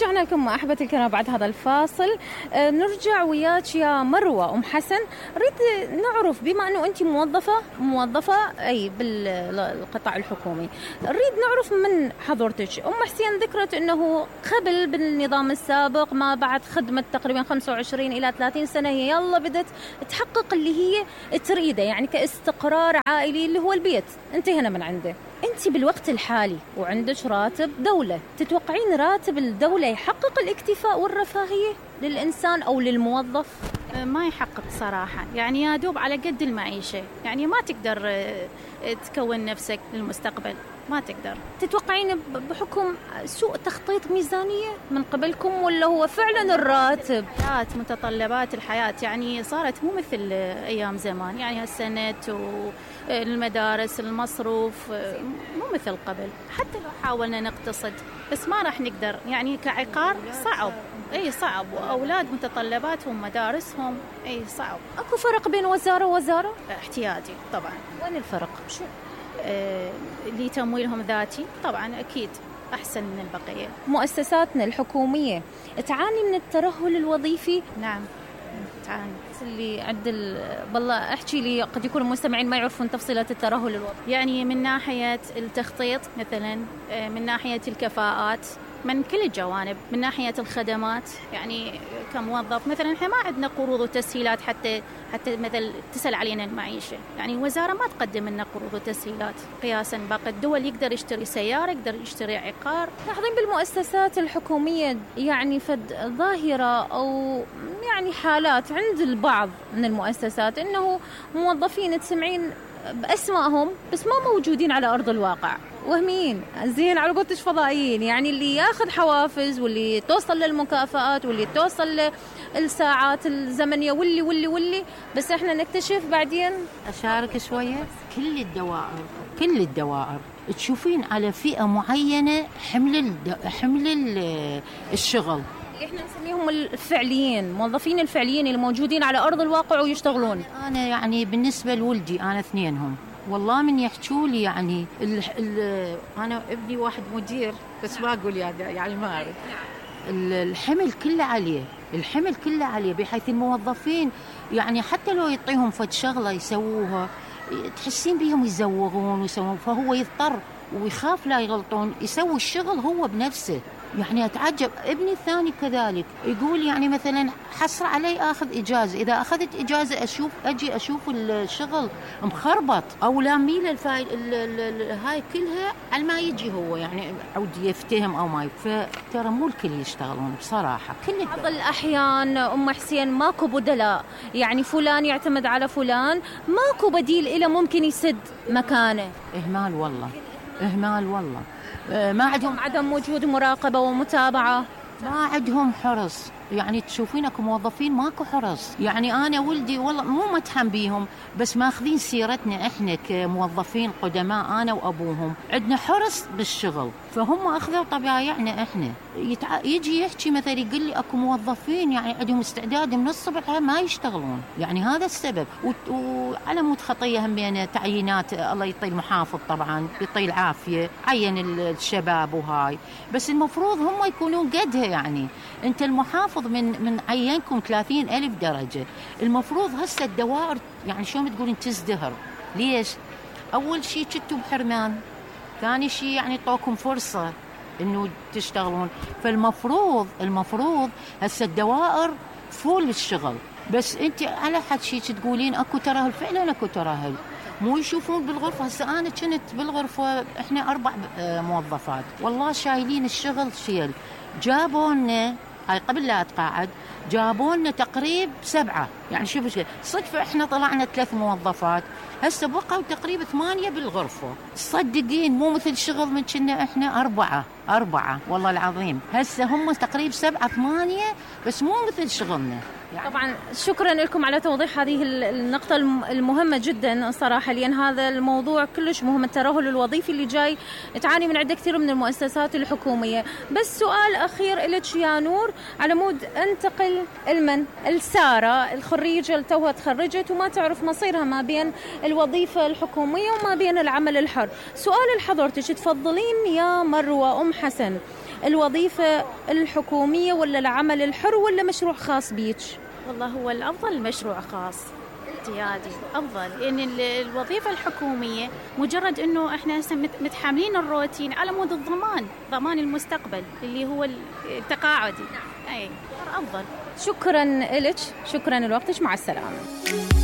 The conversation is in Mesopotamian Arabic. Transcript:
ورجعنا لكم أحبتي الكرام بعد هذا الفاصل. نرجع وياك يا مروة أم حسن. نريد نعرف بما أنه أنت موظفة أي بالقطاع الحكومي، نريد نعرف من حضرتك. أم حسين ذكرت أنه قبل بالنظام السابق ما بعد خدمة تقريبا 25 إلى 30 سنة هي يلا بدت تحقق اللي هي تريده، يعني كاستقرار عائلي اللي هو البيت انتهينا من عنده. أنت بالوقت الحالي وعندك راتب دولة، تتوقعين راتب الدولة يحقق الاكتفاء والرفاهية للإنسان أو للموظف؟ ما يحقق صراحة، يعني يا دوب على قد المعيشة، يعني ما تقدر تكون نفسك للمستقبل، ما تقدر. تتوقعين بحكم سوء تخطيط ميزانية من قبلكم ولا هو فعلا الراتب؟ متطلبات الحياة يعني صارت مو مثل أيام زمان، يعني هالسنة والمدارس المصروف مو مثل قبل. حتى لو حاولنا نقتصد بس ما راح نقدر، يعني كعقار صعب، صعب، وأولاد متطلباتهم مدارسهم صعب. أكو فرق بين وزارة ووزارة؟ احتياجي طبعا. وين الفرق؟ شو؟ اللي تمويلهم ذاتي طبعا أكيد أحسن من البقية. مؤسساتنا الحكومية تعاني من الترهل الوظيفي؟ نعم تعاني. اللي عند والله احكي لي، قد يكون المستمعين ما يعرفون تفصيلات الترهل الوظيفي. يعني من ناحية التخطيط مثلا، من ناحية الكفاءات، من كل الجوانب، من ناحية الخدمات. يعني كموظف مثلا احنا ما عندنا قروض وتسهيلات حتى مثل تسهل علينا المعيشة، يعني الوزارة ما تقدم لنا قروض وتسهيلات قياسا باقي الدول. يقدر يشتري سيارة، يقدر يشتري عقار. لاحظين بالمؤسسات الحكومية يعني فد ظاهرة أو يعني حالات عند البعض من المؤسسات إنه موظفين تسمعين بأسمائهم بس ما موجودين على أرض الواقع، وهميين زين على قولتك فضائيين، يعني اللي ياخذ حوافز واللي توصل للمكافآت واللي توصل للساعات الزمنية واللي بس احنا نكتشف بعدين. أشارك شوية. كل الدوائر تشوفين على فئة معينة حمل الشغل. احنا نسميهم الفعليين، موظفين الفعليين اللي موجودين على أرض الواقع ويشتغلون. أنا يعني بالنسبة لولدي أنا اثنينهم والله من يحكوا لي، يعني أنا ابني واحد مدير بس ما أقول يعني ما أعرف. الحمل كله عليه بحيث الموظفين يعني حتى لو يعطيهم فد شغلة يسووها تحسين بيهم يزوغون ويسوون، فهو يضطر ويخاف لا يغلطون يسوي الشغل هو بنفسه. يعني أتعجب. ابني الثاني كذلك يقول يعني مثلا حصر علي أخذ إجازة، إذا أخذت إجازة أجي أشوف الشغل مخربط أو لاميل هاي كلها على ما يجي هو يعني عود يفتهم أو ما فترى مو الكل يشتغلون بصراحة. بعض الأحيان أم حسين ماكو بدلاء، يعني فلان يعتمد على فلان، ماكو بديل إله ممكن يسد مكانه. إهمال والله. ما عدم وجود مراقبة ومتابعة، ما عندهم حرص. يعني تشوفينك موظفين ماكو حرص. يعني أنا ولدي والله مو متحم بيهم بس ماخذين سيرتنا إحنا كموظفين قدماء أنا وأبوهم عندنا حرص بالشغل، فهم أخذوا طبيعنا إحنا. يجي يحكي مثلا يقول لي أكو موظفين يعني عندهم استعداد من الصبح ما يشتغلون، يعني هذا السبب. وعلى مود خطية هم بين تعيينات، الله يعطي المحافظ طبعا يعطي العافية عين الشباب وهاي، بس المفروض هم يكونون قدها. يعني أنت المحافظ من عينكم 30,000 درجة، المفروض هسه الدوائر يعني شو تقولين تزدهر. ليش؟ أول شيء كنتوا بحرمان، ثاني شيء يعني طوكم فرصة إنه تشتغلون، فالمفروض هسه الدوائر فول الشغل. بس أنت على حد شيء تقولين أكو ترهل، فعلا أكو ترهل. مو يشوفون بالغرفة. هسه أنا كنت بالغرفة إحنا 4 موظفات والله شايلين الشغل شيل. جابونا هاي قبل لا أتقاعد جابونا تقريب 7، يعني شوف صدفة إحنا طلعنا 3 موظفات، هسه بقوا تقريبا 8 بالغرفة. صدقين مو مثل شغل من كنا إحنا 4 والله العظيم. هسه هم تقريبا 7 8 بس مو مثل شغلنا. يعني طبعا شكرا لكم على توضيح هذه النقطة المهمة جدا صراحة، لأن هذا الموضوع كلش مهم، الترهل الوظيفي اللي جاي تعاني من عدة كثير من المؤسسات الحكومية. بس سؤال أخير لك يا نور، على مود أنتقل السارة الخريجة اللي توها تخرجت وما تعرف مصيرها ما بين الوظيفة الحكومية وما بين العمل الحر. سؤال لحضرتك، تفضلين يا مروة أم حسن الوظيفة الحكومية ولا العمل الحر ولا مشروع خاص بيك؟ والله هو الأفضل مشروع خاص اعتيادي أفضل، لأن الوظيفة الحكومية مجرد أنه إحنا متحاملين الروتين على مود ضمان المستقبل اللي هو التقاعدي، أي أفضل. شكرا لك، شكرا لوقتك، مع السلامة.